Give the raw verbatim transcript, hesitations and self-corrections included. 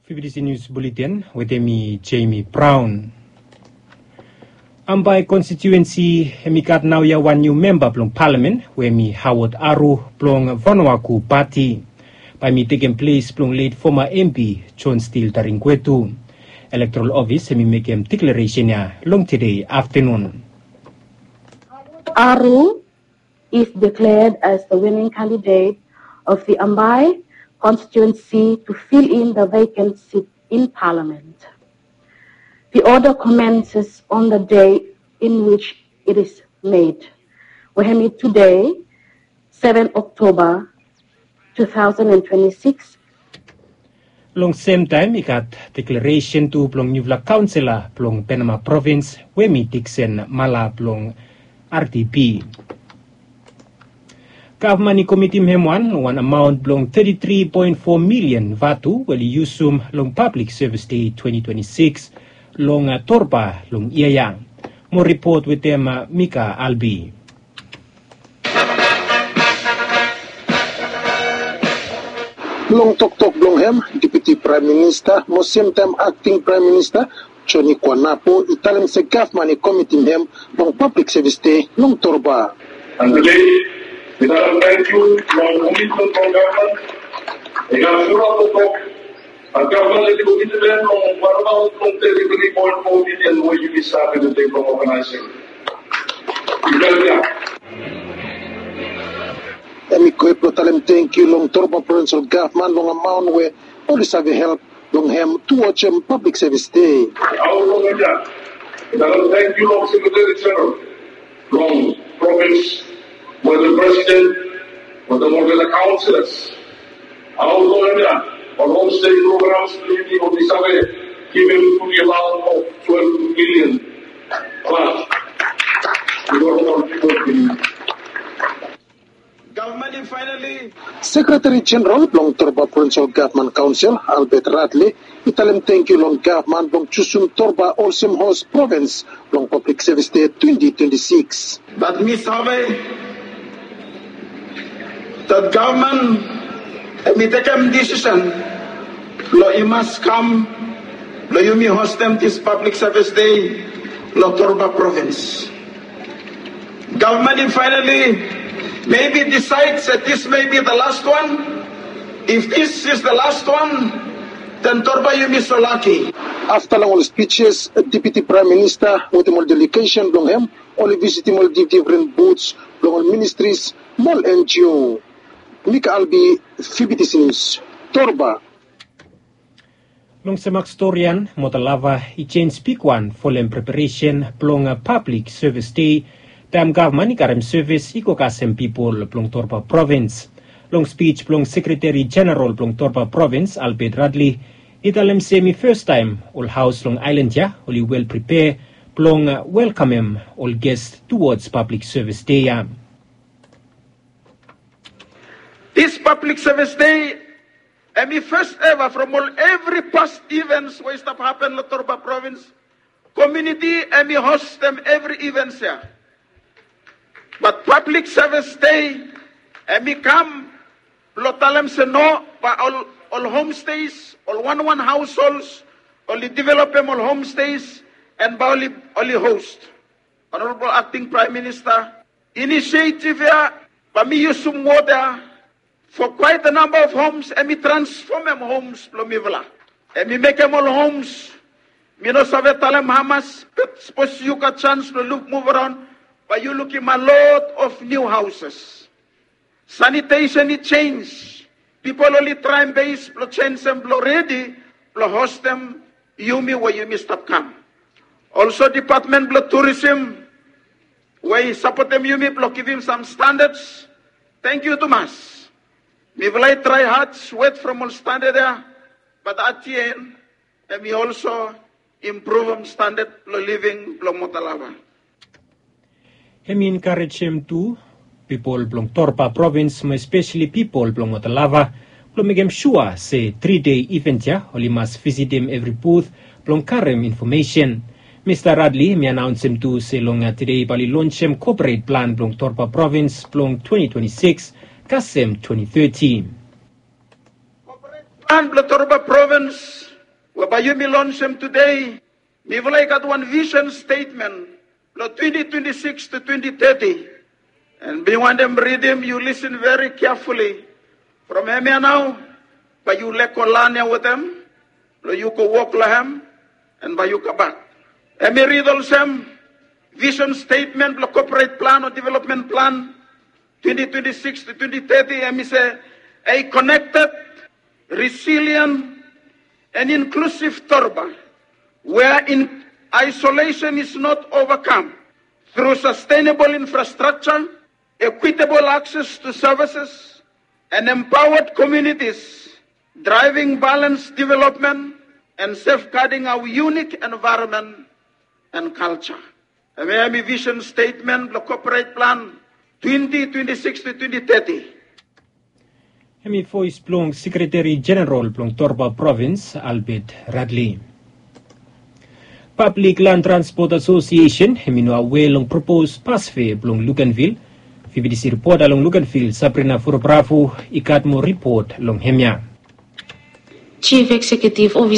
Fifty News Bulletin wetem mi, Jamie Brown. Ambae konstituensi hem i gat naoia wan niu memba blong palamen we hem i Howard Aru blong Vanuaku Pati. Bae hem i tekem ples blong let foma M P John Steele Taringwetu. Elektoral Ofis hem i mekem deklaresen ya long tede aftanun. Aru is declared as the winning candidate of the Ambae constituency to fill in the vacant seat in Parliament. The order commences on the day in which it is made, we hem i tede, seven October two thousand and twenty-six. Long semtaem i gat deklaresen tu blong niufala kaonsela blong Penama Provins we hem i Dixon Mala blong R D P. Gavman i komitim hem wan long wan amaon blong thirty-three point four million vatu we oli yusum long Public Service Day twenty twenty-six long Torba long yia ya. Mo ripot wetem Mika Albi. Long toktok blong hem, Deputi Praem Minista mo semtaem Akting Praem Minista Joni Kuanapo i talem se gavman i komitim hem long Public Service Day long Torba. And tede mi talem tangkiu long komitmen blong gavman. I gat fulap toktok. Gavman i komitim hem long wan amaon blong thirty-three point four million we yumi save tede blong oganaesem. Hem i go blong talem tangkiu long Torba Provinsol Gavman long amaon we oli save help long hem tu wajem Public Service Day. Aot long hem ya, mi talem tangkiu long Sekretari Jeneral blong provins, wetem presiden, wetem olgeta kaonselas. Aot long hem ya, ol homestay programs blong yumi we mi save givim tu di amaon of twelve million plus. Gavman i faenali. Sekretari Jeneral blong Torba Provinsol Gavman Kaonsel, Albert Radley, i talem tangkiu long gavman blong jusum Torba olsem hos provins blong Public Service Day twenty twenty-six. Bat mi save dat gavman hem i tekem desisen blong i mas kam blong yumi hostem dis Public Service Day long Torba Provins. Gavman i faenali mebi disaed se dis mebi the last one. If this is the last one, then Torba yumi so laki. Afta long ol spijes, Deputi Praem Minista wetem ol delegesen blong hem oli visitim ol difdifren buts blong ol ministris mo ol N G O. Mika Albi, Fifty News, Torba. Long semak storian, Motalava i jenis bigwan folem preparesen blong Public Service Day, taem gavman i karem sevis i go kasem pipol blong Torba Provins. Long spij blong Sekretari Jeneral blong Torba Provins, Albert Radley, i talem se hem i fastaem ol haos long aelan ya oli wel pripea blong welkamem ol ges tuwods Public Service Day ya. Dis Public Service Day hem i fes eva from ol evri past events we i stap hapen long Torba Provins. Komuniti hem i hostem evri events ya. Bat Public Service Day hem i kam blong talem se no, bae ol, ol homestays, ol wanwan haosols, oli developem ol homestays, and bae oli, oli host. Honorable Acting Prime Minister, inisiativ ya bae mi yusum wod ya, for quite a number of homes, hem i transfomem homes blong mifala. Hem i mekem ol homes, mi no save talem hamas, bat sapos yu gat janis blong luk, muv araon, bae yu lukim a lot of new houses. Sanitesen i jenis. Pipol oli traem bes blong jenisem blong redi blong hostem yumi we yumi stap kam. Olso depatmen blong turisim we i sapotem yumi blong givim sam standads. Tangkiu tumas. Mifala i trae had, swet from ol standad ya, bat at the end hem i olso impruvum standad blong living blong Motalava. Hem i enkarejem tu pipol blong Torba Provins mo espeseli pipol blong Motalava blong mekem sua se tri dei iven ya oli mas visitim evri but blong karem infomesen. Mista Radley hem i anaonsem tu se long tede bae oli lonsem koporet plan blong Torba Provins blong twenty twenty-six kasem twenty thirty. Plan blong Torba Provins we bae yumi lonsem tede, mifala i gat wan vision statement blong twenty twenty-six to twenty thirty. And mi wantem ridim, yu listen very carefully. From hemia nao, bae yu lego lan ya wetem, blong yu go wok long hem, and bae yu kambak. Hemi rid olsem, vision statement blong corporate plan o development plan twenty twenty-six to twenty thirty, hemi se, a connected, resilient, and inclusive Torba, where in isolation is not overcome through sustainable infrastructure, equitable access to services, and empowered communities, driving balanced development and safeguarding our unique environment and culture. Hemia hemi vision statement blong corporate plan twenty twenty-six to twenty thirty. Hemi voes blong Sekretari Jeneral blong Torba Provins, Albert Radley. Public Land Transport Association hemi no awe long propose bus fare blong Luganville. Fifty C reporter long Luganville, Sabrina Forobravo, i gat moa ripot long hemia. Chief Executive Officer